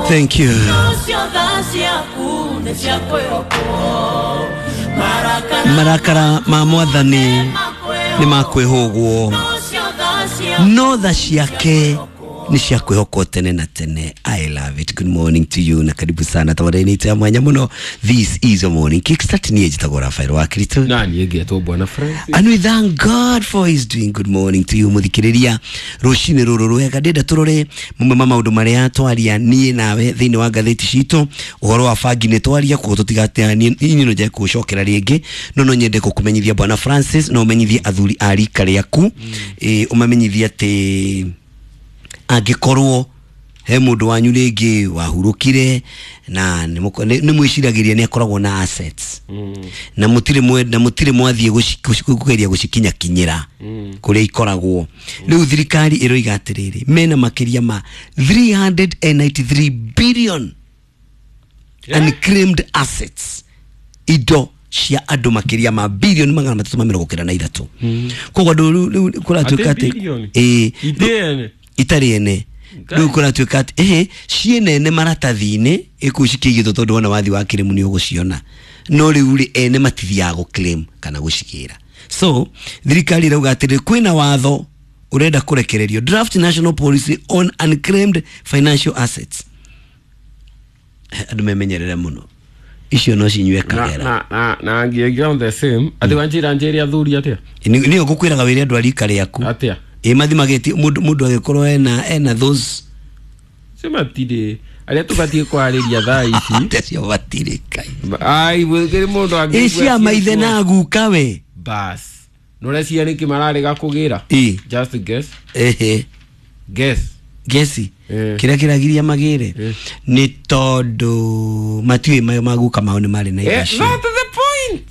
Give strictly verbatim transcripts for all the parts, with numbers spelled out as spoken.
Thank you. Marakara ma mwathani nĩ makwĩhũgwo, no tha ciake nĩ cia kwĩhokwo tene na tene. I love it. Good morning to you na karibu sana tabarĩinĩ ya mwanya mũno. This is a morning kickstart. Niĩ njĩtagwo Rafael wa Kristo na niĩ ngetwo Bwana Francis, and we thank God for his doing. Good morning to you muthikĩrĩria rũcinĩ rũrũ rwega. Ndĩenda tũrore mamwe ma maũndũ marĩa twaria niĩ nawe thĩinĩ wa ngathĩti citũ. Ũhoro wa bangi nĩ twaria, koguo tũtigateanie inyuĩ no njage kũũcokera rĩngĩ, no no nyende gũkũmenyithia Bwana Francis, no ũmenyithie athuri a rika rĩaku, ĩ ũmamenyithie atĩ angĩkorwo he mũndũ wanyu rĩngĩ wahurũkire na nĩ mwĩciragĩria nĩ akoragwo na assets na mũtirĩ mwe na mũtirĩ mwathiĩ kũgeria gũcikinyakinyĩra kũrĩa ikoragwo. Rĩu thirikari ĩroiga atĩrĩrĩ, mena makĩria ma three hundred ninety-three billion unclaimed assets, indo cia andũ makĩria ma bilioni magana matatũ ma mĩrongo kenda na ithatũ. Koguo andũ rĩu kũratuĩka atĩ ĩĩ itarĩ ene rĩu kũratuĩka atĩ ehe ciĩ nene maratathi-inĩ ĩkũu cikĩigĩtwo tondũ wona wathi wa kĩrĩmu nĩ ũgũciona, no rĩu rĩ ene matithiaga gũ-claim kana gũcigĩra. So thirikari ĩrauga atĩrĩ, kwĩna watho ũrenda kũrekererio, draft national policy on unclaimed financial assets. Andũ memenyerere mũno, icio no cinyue kagera na na na ngĩongera on the same atĩ wanjĩra njĩre athuri atĩa nĩyo ngũkwĩraga wĩre andũ a rika rĩaku atĩa ĩ mathimagĩti mũndũ mũndũ agĩkorwo ena ena those cio matirĩ arĩa tũbatiĩ kwarĩria thaa ici atĩa cio matirĩ kai ai gũkĩrĩ mũndũ ĩ angĩigua cia maithe na guka we bas nũrecia nĩkĩ mararega kũgĩra ĩ just guess ehe guess gesi Eh. kĩrĩa kĩragiria magĩre Eh. nĩ tondũ matiũĩ mayo maguka mao nĩ marĩ na indo Eh, icio. not the point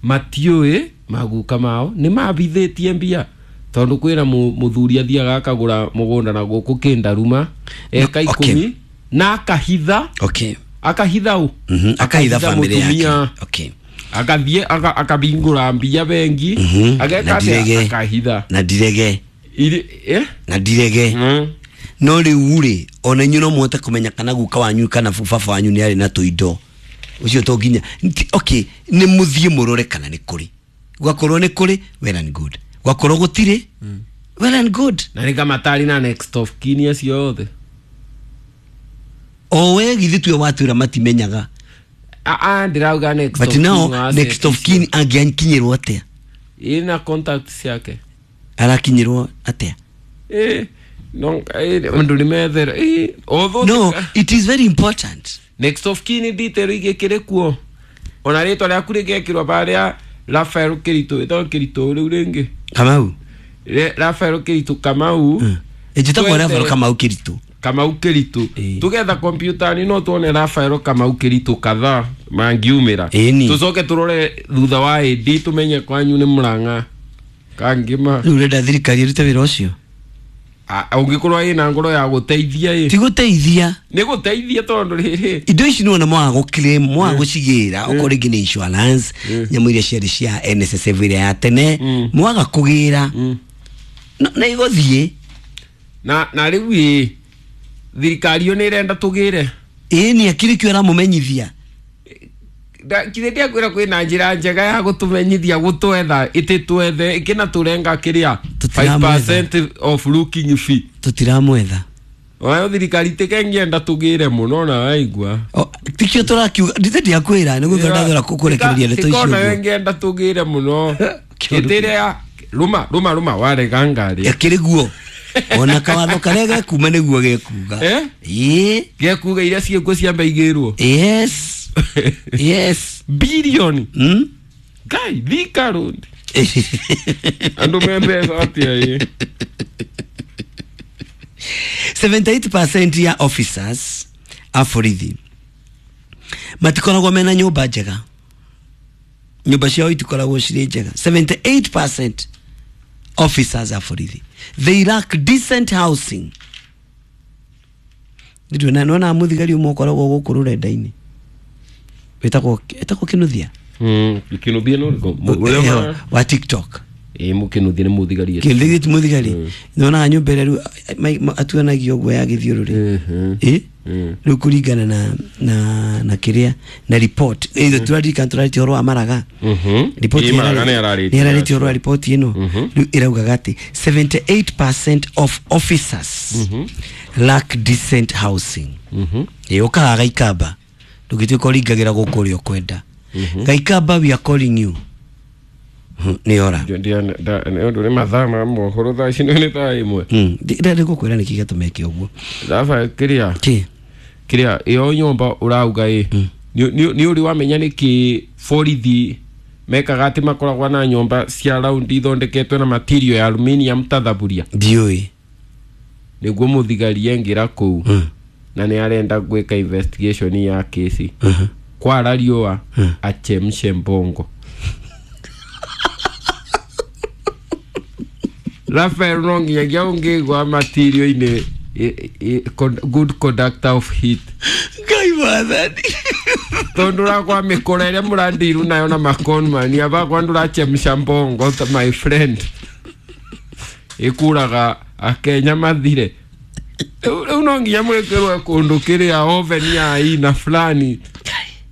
matiũĩ maguka mao nĩ mabithĩtie mbia tondũ kwĩna mu- mũthuri athiaga akagũra mũgũnda na gũkũ kĩndaruma eka No, okay. ikũmi na akahitha Okay. akahitha ũ Mhm, akahitha family yake. mũtumia Okay. akathiĩ aka- akabingũra mbia bengi Mhm, ageka na atĩa ndirege. akahitha Na ndirege Iri- eh? na ndirege Mm. no rĩu rĩ ona inyuĩ no mũhote kũmenya kana guka wanyu kana baba wanyu nĩ arĩ na tũindo ũcio to nginya Nti- okay nĩ mũthiĩ mũrore kana nĩ kũrĩ, gwakorwo nĩ kũrĩ well and good, gwakorwo gũtirĩ well and good. Na nĩ kamatari na next of kin acio othe O we githĩ tuwe watwĩra matimenyaga. Ah, ah, ndĩrauga next but of kin now wa next of asset kin angĩakinyĩrwo atĩa? Ĩna contact ciake Arakinyĩrwo atĩa? Eh, no eh, andũ nĩ methera eh, although No, it is very important. Next of kin detail igĩkĩrĩ kuo ona rĩtwa rĩaku rĩgekĩrwo barĩa Rafael Kĩritũ ĩtagwo Kĩritũ rĩu rĩngĩ Kamau Re- Rafael Kĩritũ Kamau njĩtagwo Twethe- Rafael Kamau Kĩritũ. Kamau Kĩritũ Ĩĩ. tugetha kompiuta-inĩ no tuone Rafael Kamau Kĩritũ kadhaa mangiumĩra Ĩni. tũcoke tũrore thutha wa A D tũmenye kwanyu nĩ Mũrang'a kangĩma. Rĩu ũrenda thirikari ĩrute wĩra ũcio? Ũngĩkorwo ĩna ngoro ya gũteithia ĩ Ti gũteithia. Nĩ gũteithia tondũ rĩrĩ Indo ici nĩwona mwaga gũ-claim mwaga gũcigĩra okorwo rĩngĩ nĩ insurance nyamũ iria ciarĩ cia N S S F ĩrĩa ya tene mwaga kũgĩra no- na igũthiĩ. Na na rĩu ĩ thirikari ĩyo nĩ ĩrenda tũgĩre. Ĩĩ nĩ akĩrĩ kĩo ĩramũmenyithia. Kithĩ ndiakwĩra kwĩna njĩra njega ya gũtũmenyithia gũtwetha ĩtĩtwethe ĩkĩna tũrenga kĩrĩa Tũtiramwetha. five percent of looking fee. Tũtiramwetha. Oyo thirikari tĩkengĩenda tũgĩre mũno na waigua. O, tikio tũrakiuga ndithe ndiakwĩra nĩ gũthora ndathora kũrekereria ndeto icio Tikona ũguo. ngĩenda tũgĩre mũno Kĩũndũ. ĩtĩrĩa rũma rũma rũma warega ngari Ĩkĩrĩ guo ona kawatho karĩa gekuma nĩguo gekuga. Eh? Ĩĩ. Gekuga iria ciĩkuo ciambe igĩrwo. Yes yes. Bilioni Mm? Ngai Thika Road andũ me mbeca atĩa ĩ seventy-eight percent ya officers a borithi matikoragwo mena nyũmba njega, nyũmba ciao itikoragwo cirĩ njega. seventy-eight percent officers a borithi, they lack decent housing. Nĩ nona mũthigari ũmwe ũkoragwo gũkũ rũrenda-inĩ wĩtagwo ĩtagwo Kĩnuthia. Mm, Kĩnuthia nĩ ũrĩkũ? Eh, wa TikTok. Ĩ mũkĩnuthia nĩ mũthigari. Kĩnuthia ti mũthigari, nyonaga nyũmba ĩrĩa rĩu atuanagia ũguo ya gĩthiũrũrĩ. Mhm. Ĩ. Rĩu kũringana na na na kĩrĩa na report ĩyo tũraririkana tũrarĩtie ũhoro wa Maraga. Report Ĩ, Maraga nĩ ararĩtie. nĩ ararĩtie ũhoro wa report ĩno. Rĩu ĩraugaga atĩ seventy-eight percent of officers lack decent housing. Ĩ ũkaga Gaikamba ndũngĩtuĩka ũringagĩra gũkũ ũrĩa ũkwenda. Gaikamba, we are calling you. Nĩ ora. Nĩ ũndũ nĩ mathaa ma mohoro thaa ici nĩ thaa ĩmwe. Ndĩrenda gũkwĩra nĩkĩ gĩatũma ũguo. Thaba kĩrĩa Kĩ? Kĩrĩa ĩyo nyũmba ũrauga ĩ nĩ ũrĩ wamenya nĩkĩ borithi mekaga atĩ makoragwo na nyũmba cia raundi ithondeketwo na material ya aluminium ta thaburia? Ndiũĩ. Nĩguo mũthigari engĩra kũu na nĩ arenda gwĩka investigation ya kesi kwara riũa achemshe mbongo. Rafael no nginyagia ũngĩgwa material-inĩ good conductor of heat. Ngai wathani. Tondũ rakwa mĩkora ĩrĩa mũrandiru nayo na maconman abakwa ndũrachemsha mbongo my friend ĩkuraga akenya mathire. Rĩu no nginya mwĩkĩrwe kũndũ kĩrĩa oven ya aina fulani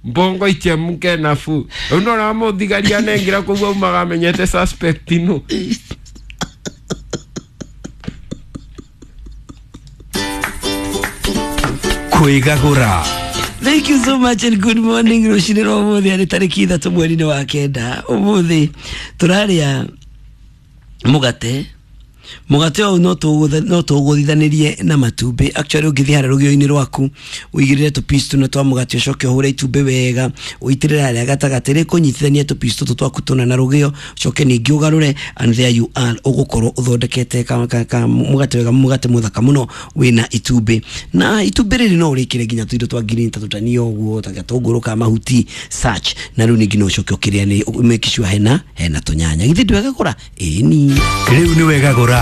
mbongo ichemke nafu. Rĩu ndona mũthigari anengera kũu aumaga amenyete suspect ino. Kwĩgagũra. Thank you so much and good morning. Rũcinĩ rwa ũmũthĩ arĩ tarĩki ithatũ mweri-inĩ wa kenda. Ũmũthĩ tũrarĩa mũgate. Mũgate ũyũ no tũgũthithanĩrie na matumbĩ. Actually ũngĩthiĩ harĩa rũgĩo-inĩ rwaku ũigĩrĩre tũpiece tũna twa mũgate ũcoke ũhũre itumbĩ wega ũitĩrĩre harĩa gatagatĩ rĩkũnyitithania tũpiece tũtũ twaku tũna na rũgĩo ũcoke ningĩ ũgarũre and there you are ũgũkorwo ũthondekete ka, ka, ka mũgate wega mũgate mũthaka mũno wĩna itumbĩ. Na itumbĩ rĩrĩ no ũrĩkĩre nginya tũindo twa green ta tũtania ũguo ta gatũngũrũ ka mahuti such na rĩu ningĩ no ũcoke ũkĩrĩa nĩ make sure hena hena tũnyanya. Githĩ ndwegagũra? Ĩni. Rĩu nĩ wegagũra.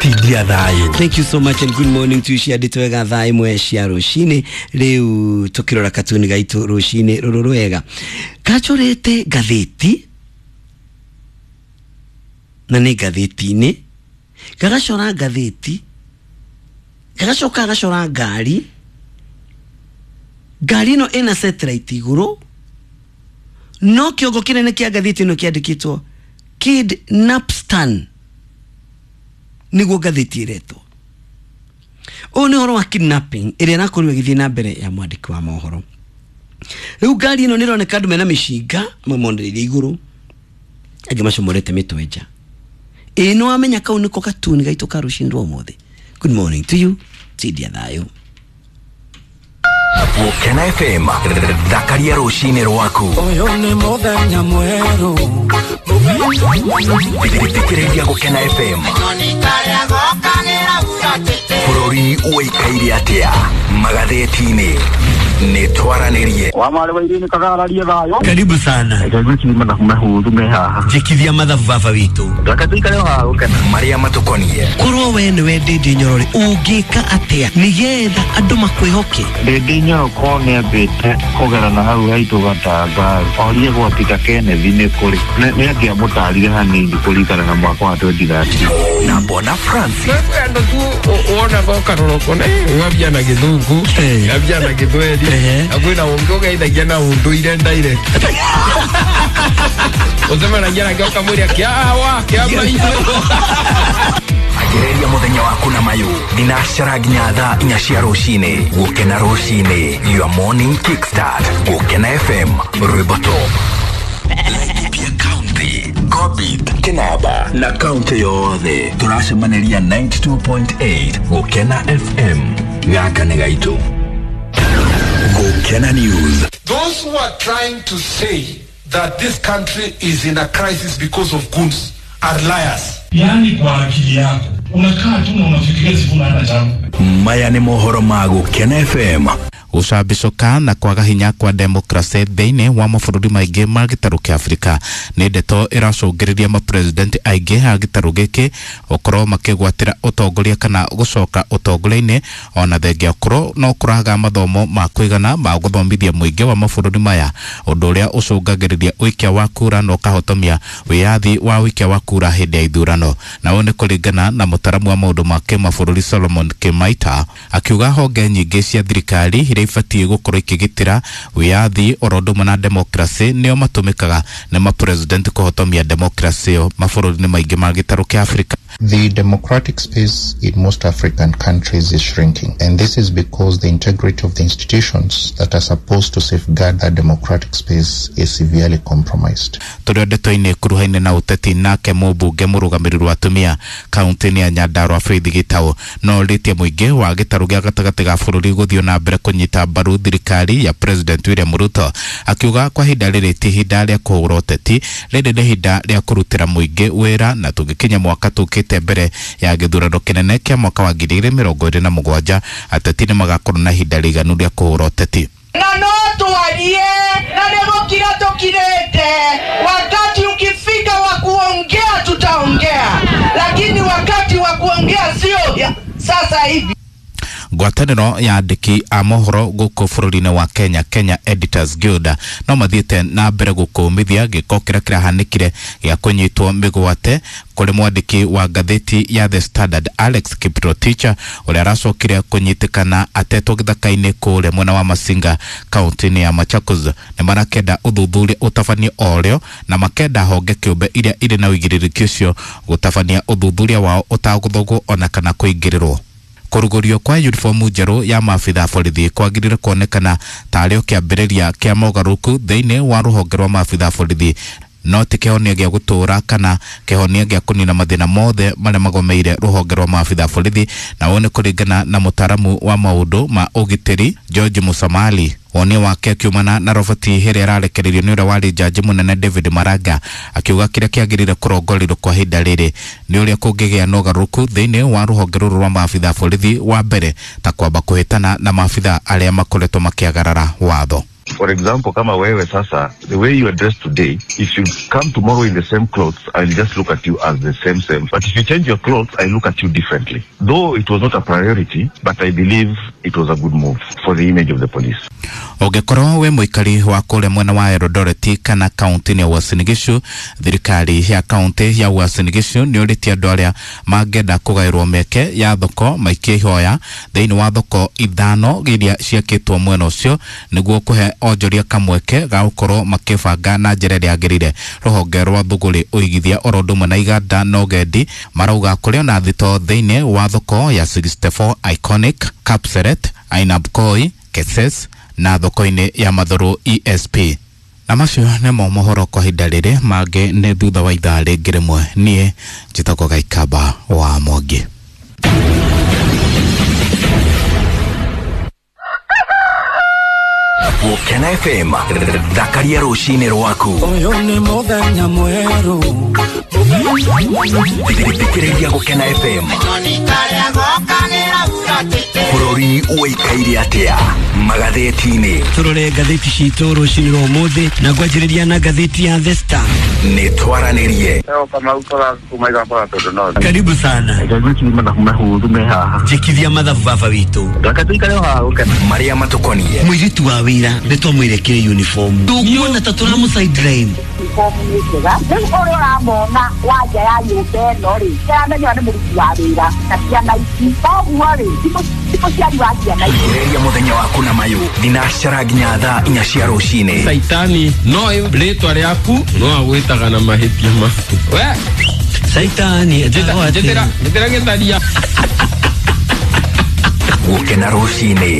Tindia thayo. Thank you so much and good morning to you. Ciandĩtwo wega thaa ĩmwe cia rũcinĩ. Rĩu tũkĩrora katuni gaitũ rũcinĩ rũrũ rwega kachorete ngathĩti na nĩ ngathĩti-inĩ gagacora ngathĩti gagacoka gagacora ngari. Ngari ĩno ĩna satellite igũrũ no kĩongo kĩnene kĩa ngathĩti ĩno kĩandĩkĩtwo Kidnapstan niguo ngathĩti ĩretwo. Ũyũ nĩ ũhoro wa kidnapping ĩrĩa ĩrakorirwo ĩgĩthiĩ na mbere ya mwandĩki wa mohoro. Rĩu ngari ĩno nĩ ĩroneka andũ mena mĩcinga amwe monereirie igũrũ angĩ macomorete mĩtwe nja. Ĩĩ nĩ wamenya kau nĩko katuni gaitũ ka rũcinĩ rwa ũmũthĩ. Good morning to you. Tindia thayũ. Gũkena F M thakaria rũcinĩ rwaku. Ũyũ nĩ mũthenya mwerũ. Thikĩrĩria Gũkena F M. Bũrũri ũikaire atĩa magathĩti-inĩ nĩ twaranĩrie. Wa mwarĩ wa Irene kagararie thayũ. Karibu sana. Njĩkithia mathabu baba witũ. Reke tũikare haha gũkena. Marĩa matũkonie. Korwo we nĩwe Ndĩndĩ Nyorore ũngĩka atĩa nĩgetha andũ makwĩhoke? Ndĩndĩ Nyoro korwo nĩambĩte kũgera na hau haitũ Gatanga orie gwa Peter Kenneth nĩ kũrĩ nĩ angĩamũtarire hanini kũringana na mwaka wa twenty thirteen. Na Bona Francis. Andũ tu wonaga ũkarora ũkona ngabia na gĩthũngũ ngabia na gĩthweri na kwĩna ũngĩ ũgeithagia na ũndũire direct. Ũcemanagia nake ũkamwĩra kĩawa kĩa maitũ. Anjĩrĩria mũthenya waku na mayũ thinacara nginya thaa inya cia rũcinĩ. Gũkena rũcinĩ, your morning kickstart. Gũkena F M rwĩmbo top. Laikipia County, Gobit, Kinaba na kaunti yothe tũracemanĩria ninety-two point eight Gũkena F M. Gaka nĩ gaitũ. Gũkena News. Those who are trying to say that this country is in a crisis because of goons are liars. Yaani kwa akili yako unakaa tu na unafikiria Sifuna hana chama. Maya nĩ mohoro ma Gũkena F M. Gũcambicũka na kwaga hinya kwa demokrasi thĩinĩ wa mabũrũri maingĩ ma gĩtarũ kĩa Afrika nĩ ndeto ĩracũngĩrĩria mapresidenti aingĩ a gĩtarũ gĩkĩ gũkorwo makĩgwatĩra ũtongoria kana gũcoka ũtongoria-inĩ, ona thengia ũkorwo no kũraga mathomo ma kũigana ma gũthomithia mũingĩ wa mabũrũri maya, ũndũ ũrĩa ũcũngagĩrĩria ũikia wa kura na ũkahotomia wĩyathi wa ũikia wa kura hĩndĩ ya ithurano. Na ũũ nĩ kũringana na mũtaramu wa maũndũ ma kĩmabũrũri Solomon Kimaita, akiuga honge nyingĩ cia thirikari iria ibatiĩ gũkorwo ikĩgitĩra wĩyathi oro ũndũ ũmwe na demokrasi nĩo matũmĩkaga nĩ mapresident kũhotomia demokrasi ĩyo mabũrũri-inĩ maingĩ ma gĩtarũ kĩa Afrika. The democratic space in most African countries is shrinking, and this is because the integrity of the institutions that are supposed to safeguard that democratic space is severely compromised. Tũrĩ ndeto-inĩ kuruhaine na ũteti, nake mũmbunge mũrũgamĩrĩri wa atumia kaunti-inĩ ya Nyandarua Faith Gitau no orĩtie mũingĩ wa gĩtarũ gĩa gatagatĩ ga bũrũri gũthiĩ na mbere kũnyita mbaru thirikari ya President William Ruto, akiuga kwa ihinda rĩrĩ ti ihinda rĩa kũhũra ũteti, rĩrĩ nĩ ihinda rĩa kũrutĩra mũingĩ wĩra, na tũngĩkinya mwaka tũkĩte mbere ya gĩthurano kĩnene kĩa mwaka wa ngiri igĩrĩ mĩrongo ĩrĩ na mũgwanja ateti nĩ magakorwo na ihinda rĩiganu rĩa kũhũra ũteti. Na no tuarie na nĩ gũkira tũkirĩte, wakati ukifika wa kuongea tutaongea, lakini wakati wa kuongea sio sasa hivi. Ngwatanĩro ya andĩki a mohoro gũkũ bũrũri-inĩ wa Kenya, Kenya Editors Guild, no mathiĩte na mbere gũkũmithia gĩko kĩrĩa kĩrahanĩkire gĩa kũnyitwo mĩgwate kũrĩ mwandĩki wa ngathĩti ya The Standard Alex Kiprotich, ũrĩa aracokire kũnyitĩkana atetwo gĩthaka-inĩ kũrĩa mwena wa Masinga kaunti-inĩ ya Machakos. Nĩ marakenda ũthuthuria ũtabanio o rĩo na makenda honge kĩũmbe iria irĩ na ũigĩrĩrĩki ũcio gũtabania ũthuthuria wao ũtagũthogwo ona kana kũingĩrĩrwo. Kũrugũrio kwa uniformu njerũ ya maabitha borithi kwagĩrĩire kuonekana tarĩ o kĩambĩrĩria kĩa mogarũrũku thĩinĩ wa rũhonge rwa maabitha borithi, no ti kĩhonia gĩa gũtũũra kana kĩhonia gĩa kũnina mathĩna mothe marĩa magomeire rũhonge rwa maabitha borithi. Na ũũ nĩ kũringana na mũtaaramu wa maũndũ ma ũgitĩri George Musamali. Woni wake akiumana na roboti ĩrĩa ĩrarekereirio nĩ ũrĩa warĩ jaji mũnene David Maraga, akiuga kĩrĩa kĩagĩrĩire kũrongorerio kwa ihinda rĩrĩ nĩ ũrĩa kũngĩgĩa na ũgarũrũku thĩinĩ wa rũhonge rũrũ rwa maabitha borithi, wa mbere ta kwamba kũhĩtana na maabitha arĩa makoretwo makĩagarara watho. For example, kama wewe sasa, the way you are dressed today, if you come tomorrow in the same clothes, I'll just look at you as the same same. But if you change your clothes, I look at you differently. Though it was not a priority, but I believe it was a good move for the image of the police. Ũngĩkorwo wĩ mũikari wa kũrĩa mwena wa Eldoret kana kaunti-inĩ ya Uasin Gishu, thirikari ya kaunti ya Uasin Gishu nĩ ũrĩtie andũ arĩa mangĩenda kũgaĩrwo mĩeke ya thoko maikie ihoya thĩinĩ wa thoko ithano iria ciakĩtwo mwena ũcio nĩguo kũhe onjoria kamweke ga gũkorwo makĩbanga na njĩra ĩrĩa yagĩrĩire. Rũhonge rwa thũgũrĩ ũigithia oro ũndũ ũmwe na iganda na ũgendi marauga kũrĩ ona thito thĩinĩ wa thoko ya sixty-four Iconic, Kapseret, Ainabkoi, Keses na thoko-inĩ ya Mathuru E S P. Na macio nĩmo mohoro kwa ihinda rĩrĩ, mangĩ nĩ thutha wa ithaa rĩngĩ rĩmwe. Niĩ njĩtagwo Gaikamba wa Mwangi. Gũkena F M, thakaria rũcinĩ rwaku. Ũyũ nĩ mũthenya mwerũ. Thikĩrĩria Gũkena F M. Bũrũri ũikaire atĩa magathĩti-inĩ? Tũrore ngathĩti citũ rũcinĩ rwa ũmũthĩ na ngwanjĩrĩria na ngathĩti ya The Star. Nĩ twaranĩrie. Karibu sana. Njĩkithia mathabu baba witũ. Marĩa matũkoniĩ. Mũirĩtu wa wĩra nĩ twamwĩre kĩrĩ uniform. Tũkuona ta tũramũ sideline. Uniform nĩ njega. Rĩu ũrĩa ũramona wa nja ya nyũmba ĩno rĩ, ndĩramenya nĩ mũruti wa wĩra na ciana ici. Koguo rĩ, ti mũciari wa ciana ici. Ambĩrĩria mũthenya waku na mayũ thinacara nginya thaa inya cia rũcinĩ. Saitani no rĩtwa rĩaku no agwĩtaga na mahĩtia maku. We Saitani njĩtĩra njĩtĩra gĩtharia. Gũkena rũcinĩ.